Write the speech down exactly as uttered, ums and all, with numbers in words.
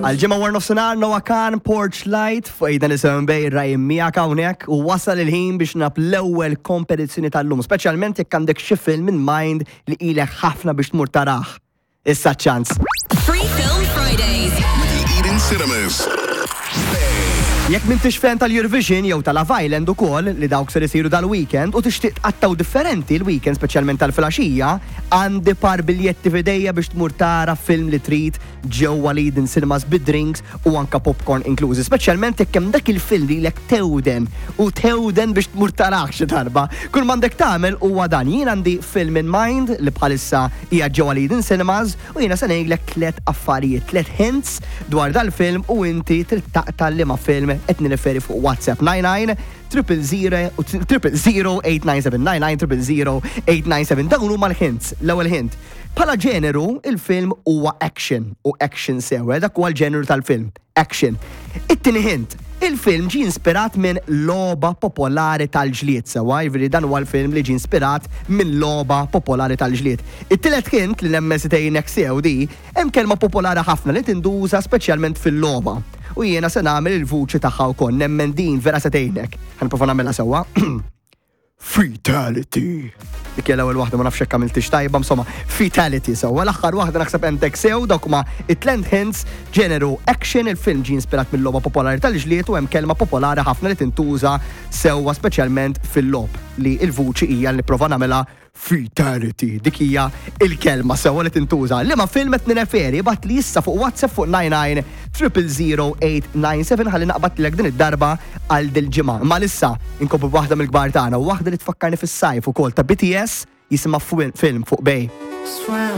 Għal-ġimgħa war nofsinhar Noah Kahan Porch Light fuq Eden Seven Bay Ryan miegħek hawnhekk u wasal il-ħin biex nab l-ewwel kompetizzjoni tal-lum, speċjalment jekk għandek xi film in mind li ilek ħafna biex tmur tarah. Issa ċans. Free Film Fridays. With the Eden Cinemas. Jekk m'intix fan tal-Eurovision jew tal-Love Island ukoll li dawk ser isiru dal-weekend u tixtieq tqattgħu differenti l-weekend speċjalment tal-filgħaxija, għandi par biljetti f'idejja biex tmur tara film li trid ġewwa l-Eden Cinemas bid-drinks u anka popcorn inklużi, speċjalment jekk hemm dak il-film li lek tewden u tewden biex tmur tarah xi darba. Kull m'għandek tagħmel huwa dan. Jien għandi film in mind li bħalissa hija ġewwa l-Eden Cinemas u jiena se ngħidlek tliet affarijiet, tliet hints dwar dal-film u inti trid taqta' liema film qed nirreferi fuq WhatsApp nine nine triple zero triple zero eight nine seven nine nine triple zero eight nine seven. Dawn huma l-hints. L-ewwel hint. Bħala ġeneru, il-film huwa action u action sew, dak huwa l-ġeneru tal-film, action. It-tieni hint, il-film ġi inspirat minn logħba popolari tal-ġlied sewwa, jiġifieri dan huwa l-film li ġi inspirat minn logħba popolari tal-ġlied. It-tielet hint li nemmen se tgħinek sew di, hemm kelma popolari ħafna li tinduża speċjalment fil-logħba. U jiena se nagħmel il-vuċi tagħha wkoll, nemmen din vera se tgħinek. Ħa nipprova nagħmilha sewwa. Fatality. Dik hija l-ewwel waħda, ma nafx hekk għamiltix tajba, insomma, fatality sewwa. L-aħħar waħda naħseb għentek sew, dawk huma it-tliet hints, ġeneru action, il-film ġie inspirat mill-logħba popolari tal-ġlied u hemm kelma popolari ħafna li tintuża sewwa speċjalment fil-logħob li il-vuċi hija li nipprova nagħmilha fatality. Dik hija il-kelma sewwa li tintuża. Liema film qed nirreferi ibgħat li issa fuq WhatsApp fuq nine nine triple zero eight nine seven ħalli naqbad din id-darba għal dil-ġimgħa. Ma issa inkomplu waħda mill-kbar tagħna, waħda li tfakkarni fis-sajf ukoll ta' B T S jisimha Film fuq Bay. Swim.